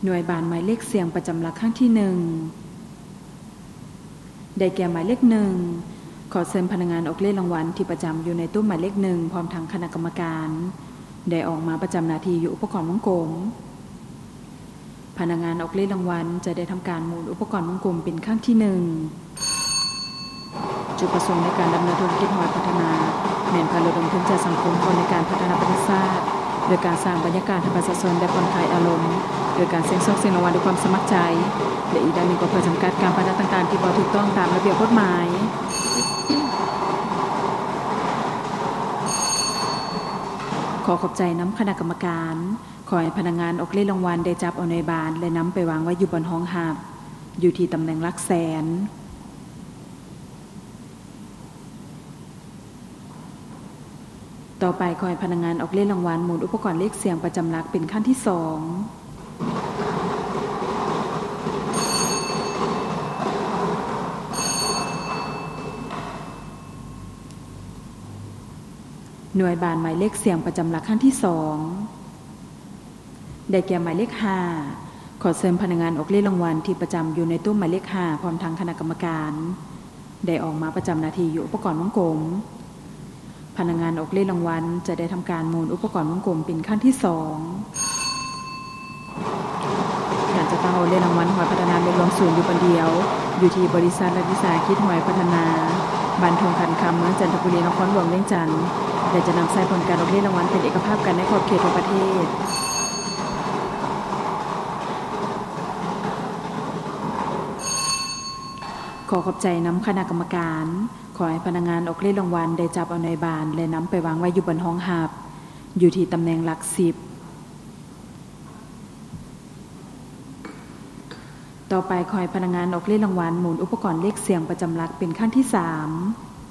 ໜ່ວຍບານໝາຍເລກສ່ຽງປະຈຳຫຼັກຄັ້ງທີໜຶ່ງ ໄດ້ແກ່ໝາຍເລກໜຶ່ງ. ຂໍເຊີນພະນັກງານອອກເລກລາງວັນທີ່ປະຈຳຢູ່ໃນໂຕະໝາຍເລກໜຶ່ງ ພ້ອມທັງຄະນະກຳມະການ ໄດ້ອອກມາປະຈຳໜ້າທີ່ຢູ່ອຸປະກອນວົງກົມ. ພະນັກງານອອກເລກລາງວັນຈະໄດ້ທຳການໝູນອຸປະກອນວົງກົມເປັນຄັ້ງທີໜຶ່ງ. ຈຸດປະສົງໃນການດຳເນີນທຸລະກິດຫອຍພັດທະນາ ແມ່ນເພື່ອລະດົມທຶນຈາກສັງຄົມເຂົ້າໃນການພັດທະນາປະເທດຊາດ ໂດຍການສ້າງບັນຍາກາດໃຫ້ປະຊາຊົນໄດ້ຜ່ອນຄາຍອາລົມ ໂດຍການສ່ຽງໂຊກສ່ຽງລາງວັນດ້ວຍຄວາມສະໝັກໃຈ ແລະ ອີກດ້ານໜຶ່ງກໍເພື່ອຈຳກັດການປະທະນາຕ່າງໆທີ່ບໍ່ຖືກຕ້ອງຕາມລະບຽບກົດໝາຍ. ຂໍຂອບໃຈນຳຄະນະກຳມະການ. ຂໍໃຫ້ພະນັກງານອອກເລກລາງວັນໄດ້ຈັບເອົາໜ່ວຍບານ ແລະ ນຳໄປວາງໄວ້ຢູ່ບ່ອນຮອງຮັບ ຢູ່ທີ່ຕຳແໜ່ງຫຼັກແສນ. ຕໍ່ໄປ ຂໍໃຫ້ພະນັກງານອອກເລກລາງວັນໝູນອຸປະກອນເລກສ່ຽງປະຈຳຫຼັກເປັນຄັ້ງທີສອງ. ໜ່ວຍບານໝາຍເລກສ່ຽງປະຈຳຫຼັກຄັ້ງທີສອງ ໄດ້ແກ່ໝາຍເລກຫ້າ. ຂໍເຊີນພະນັກງານອອກເລກລາງວັນທີ່ປະຈຳຢູ່ໃນໂຕະໝາຍເລກຫ້າ ພ້ອມທັງຄະນະກຳມະການ ໄດ້ອອກມາປະຈຳໜ້າທີ່ຢູ່ອຸປະກອນວົງກົມ. ພະນັກງານອອກເລກລາງວັນຈະໄດ້ທຳການໝູນອຸປະກອນວົງກົມເປັນຄັ້ງທີສອງ. ການຈັດຕັ້ງອອກເລກລາງວັນຫອຍພັດທະນາແມ່ນລວມສູນຢູ່ບ່ອນດຽວ ຢູ່ທີ່ບໍລິສັດລັດວິສາຫະກິດຫອຍພັດທະນາ ບ້ານທົ່ງຂັນຄຳ ເມືອງຈັນທະບູລີ ນະຄອນຫຼວງວຽງຈັນ ແລະ ຈະນຳໃຊ້ຜົນການອອກເລກລາງວັນເປັນເອກະພາບກັນໃນຂອບເຂດທົ່ວປະເທດ. ຂໍຂອບໃຈນຳຄະນະກຳມະການ. ຂໍໃຫ້ພະນັກງານອອກເລກລາງວັນໄດ້ຈັບເອົາໜ່ວຍບານ ແລະ ນຳໄປວາງໄວ້ຢູ່ບ່ອນຮອງຮັບ ຢູ່ທີ່ຕຳແໜ່ງຫຼັກສິບ. ຕໍ່ໄປ ຂໍໃຫ້ພະນັກງານອອກເລກລາງວັນໝູນອຸປະກອນເລກສ່ຽງປະຈຳຫຼັກເປັນຄັ້ງທີສາມ.